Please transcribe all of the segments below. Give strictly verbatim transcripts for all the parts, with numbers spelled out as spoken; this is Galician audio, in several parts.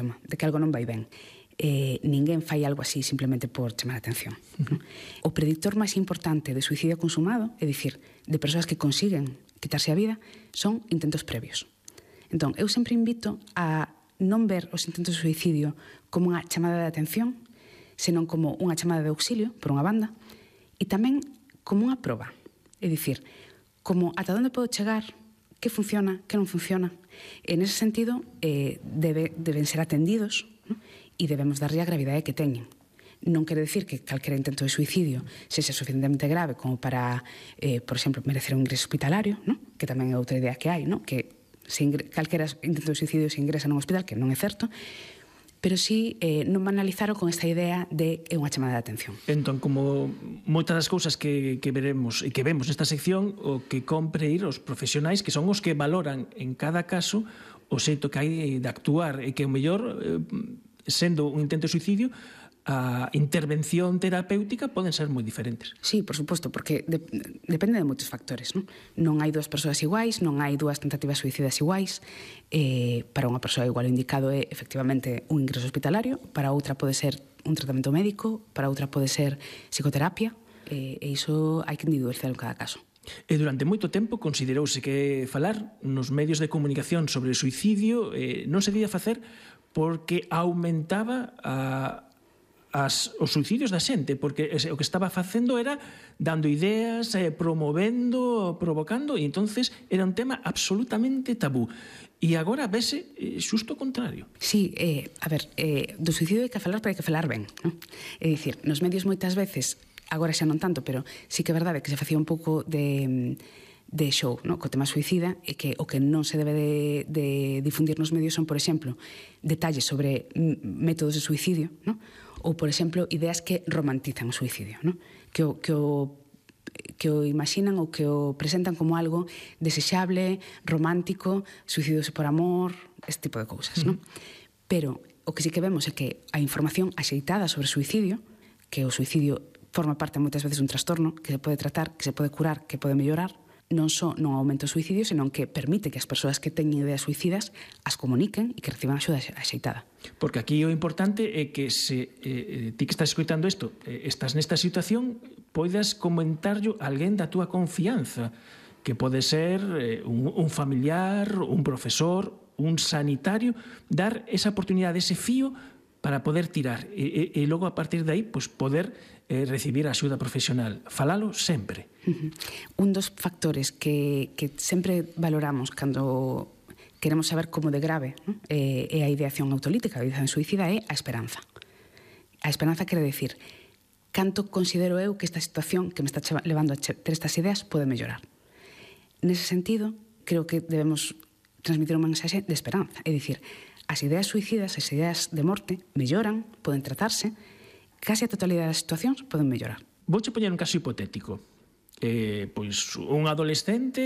de que algo non vai ben. Eh, ninguén fai algo así simplemente por chamar a atención. Uh-huh. O predictor máis importante de suicidio consumado, é dicir, de persoas que consiguen quitarse a vida, son intentos previos. Entón, eu sempre invito a non ver os intentos de suicidio como unha chamada de atención, senón como unha chamada de auxilio, por unha banda, e tamén como unha proba. É dicir, como ata onde podo chegar, que funciona, que non funciona. En ese sentido, eh, debe, deben ser atendidos, ¿no? E debemos darlle a gravidade que teñen. Non quere decir que calquera intento de suicidio sexa suficientemente grave como para, eh, por exemplo, merecer un ingreso hospitalario, ¿no? Que tamén é outra idea que hai, ¿no? Que se ingre... calquera intento de suicidio se ingresa nun hospital, que non é certo, pero sí eh, non banalizaro con esta idea de é unha chamada de atención. Entón, como moitas das cousas que, que veremos e que vemos nesta sección, o que compre ir os profesionais, que son os que valoran en cada caso o xeito que hai de actuar, e que o mellor, eh, sendo un intento de suicidio, a intervención terapéutica poden ser moi diferentes. Sí, por suposto, porque de, depende de moitos factores, non? Non hai dúas persoas iguais, non hai dúas tentativas suicidas iguais. Eh, para unha persoa igual o indicado é efectivamente un ingreso hospitalario, para outra pode ser un tratamento médico, para outra pode ser psicoterapia, eh, e iso hai que individualizar en cada caso. E durante moito tempo considerouse que falar nos medios de comunicación sobre o suicidio eh, non se debía facer porque aumentaba a As, os suicidios da xente, porque o que estaba facendo era dando ideas, eh, promovendo, provocando, e entonces era un tema absolutamente tabú. E agora vese eh, xusto o contrario. Sí, eh, a ver, eh, do suicidio hai que falar, pero hai que falar ben, non? É dicir, nos medios moitas veces, agora xa non tanto, pero sí que é verdade que se facía un pouco de... de show, no? Co tema suicida, e que o que non se debe de, de difundir nos medios son, por exemplo, detalles sobre métodos de suicidio, no? Ou, por exemplo, ideas que romantizan o suicidio, no? Que o, que o que o imaginan ou que o presentan como algo desexable, romántico, suicidose por amor, este tipo de cousas, no? Pero o que sí que vemos é que a información axeitada sobre o suicidio, que o suicidio forma parte moitas veces dun trastorno que se pode tratar, que se pode curar, que pode mellorar, non só non aumenta o suicidio, senón que permite que as persoas que teñen ideas suicidas as comuniquen e que reciban axuda axeitada. Porque aquí o importante é que se eh, ti que estás escoitando isto, eh, estás nesta situación, poidas comentarlo a alguén da túa confianza, que pode ser eh, un, un familiar, un profesor, un sanitario, dar esa oportunidade, ese fío para poder tirar e, e, e logo a partir de aí pues, poder eh, recibir a axuda profesional. Falalo sempre. Uh-huh. Un dos factores que, que sempre valoramos cando queremos saber como de grave, ¿no? eh, é a ideación autolítica, a ideación suicida, é a esperanza. A esperanza quere decir canto considero eu que esta situación que me está levando a ter estas ideas pode mellorar. Nese sentido, creo que debemos transmitir un mensaxe de esperanza, é dicir, as ideas suicidas, as ideas de morte, melloran, poden tratarse, case a totalidade das situacións poden mellorar. Vouche poñer un caso hipotético. Eh, pois un adolescente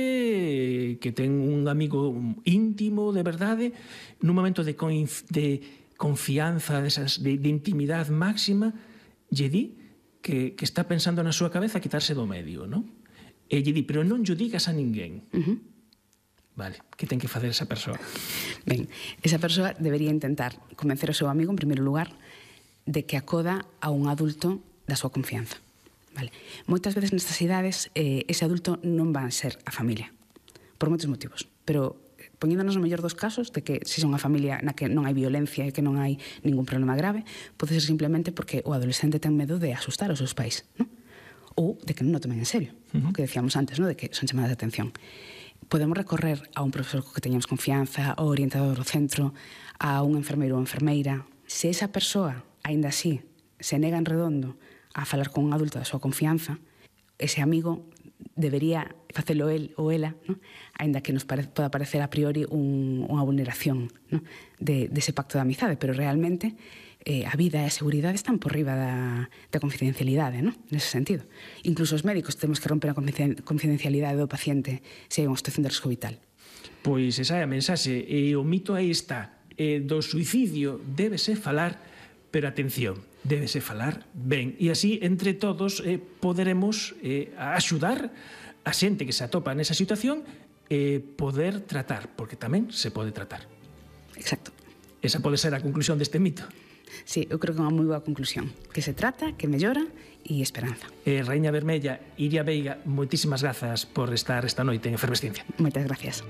que ten un amigo íntimo de verdade, nun momento de, conf, de confianza, de, esas, de, de intimidade máxima, lle di que, que está pensando na súa cabeza quitarse do medio, non? E lle di, pero non lle digas a ninguén. Uh-huh. Vale, que ten que facer esa persoa? Ben, esa persoa debería intentar convencer o seu amigo, en primeiro lugar, de que acoda a un adulto da súa confianza. Vale. Moitas veces nestas idades eh, ese adulto non va a ser a familia, por moitos motivos, pero poñéndonos no mellor dos casos de que se son unha familia na que non hai violencia e que non hai ningún problema grave, pode ser simplemente porque o adolescente ten medo de asustar aos seus pais, non? Ou de que non o tomen en serio, uh-huh. O que decíamos antes, non? De que son chamadas de atención. Podemos recorrer a un profesor co que teñamos confianza, ao orientador do centro, a un enfermeiro ou enfermeira. Se esa persoa, aínda así, se nega en redondo a falar con un adulto da súa confianza, ese amigo debería facelo el ou ela, ¿no? Aínda que nos pare, poda parecer a priori un, unha vulneración, ¿no? de, de ese pacto de amizade, pero realmente eh, a vida e a seguridade están por riba da, da confidencialidade, ¿no? Nese sentido. Incluso os médicos temos que romper a confidencialidade do paciente se hai unha situación de risco vital. Pois esa é a mensaxe, e o mito aí está, e do suicidio débese falar, pero atención, débese falar ben, e así entre todos eh, poderemos eh, axudar a xente que se atopa nesa situación e eh, poder tratar, porque tamén se pode tratar. Exacto. Esa pode ser a conclusión deste mito. Sí, eu creo que é unha moi boa conclusión. Que se trata, que mellora e esperanza. Eh, Raíña Vermella, Iria Veiga, moitísimas grazas por estar esta noite en Efervesciencia. Moitas gracias.